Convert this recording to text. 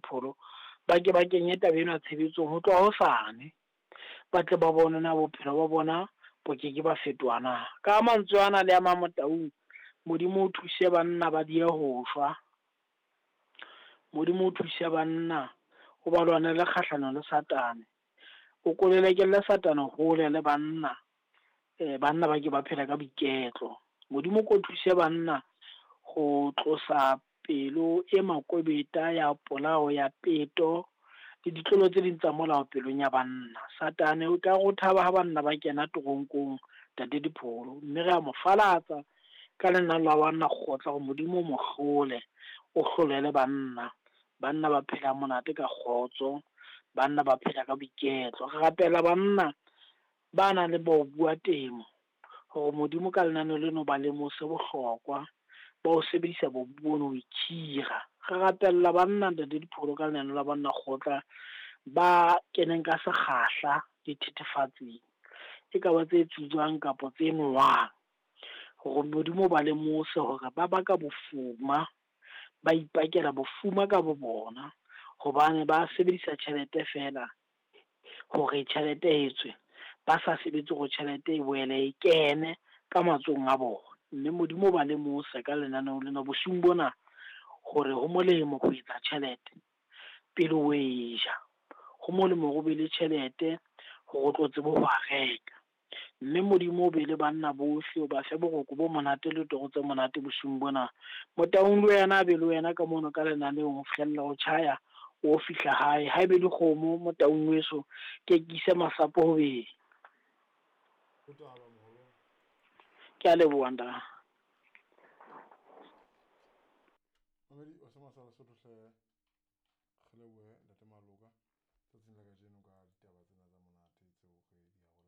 Dipholo, ba ke ba kenye taba ena tshebetsong ho tloha hosane. Ba tle ba bone na bophelo ba bona bo ke ke ba fetoha na. Ka mantswe ana le a mang Motaung, Modimo o thuse banna ba die ho shwa. Modimo o thuse banna o ba lwanele kgahlano le Satane. O kolelekelle Satane hole le banna. Banna ba ke ba phela ka boiketlo. Modimo ko thuse banna go tlosa pelo e makobeta ya polao ya peto le ditlolo tse ding tsa molao pelong ya banna. Satane o ka go thaba ha banna ba kena toronkong, Ntate Dipholo, mme re a mo falatsa ka lenane la banna kgotla gore Modimo o mo hlole, o hlolele banna. Banna ba phela monate ka kgotso, banna ba phela ka boiketlo. Re rapela banna ba nang le bo bua temo hore Modimo ka lenaneo leno ba lemose bohlokwa ba ho sebedisa bobu bono ho ikhira. Re rapella banna, Ntate Dipholo, ka lenaneo la banna kgotla ba keneng ka sekgahla dithethefatsing, e ka ba tse tsujwang kapa tse nowang, hore Modimo ba lemose hore ba baka bofuma, ba ipakela bofuma ka bo bona, hobane ba sebedisa tjhelete feela hore tjhelete e tswe, ba sa sebetse hore tjhelete e boele e kene ka matsohong a bona. Mme Modimo ba lemose ka lenaneo lena bosiung bona hore ho molemo ho etsa tjhelete pele o e ja. Ho molemo hore o be le tjhelete hore o tlo tsebe ho a reka. Mme Modimo o be le banna bohle, o ba fe boroko bo monate le toro tse monate bosiung bona. Motaung le wena a be le wena ka mono ka lenaneong ho fihlella ho tjhaya o fihla hae. Ha ebe dikgomo Motaung weso, ke ke ise masapo ho beng. Ke a leboha ntate. Mamedi o se masala Sotho hle, re lebohe Ntate Maloka tsatsing la kajeno ka ditaba tsena tsa monate tseo re di arolang.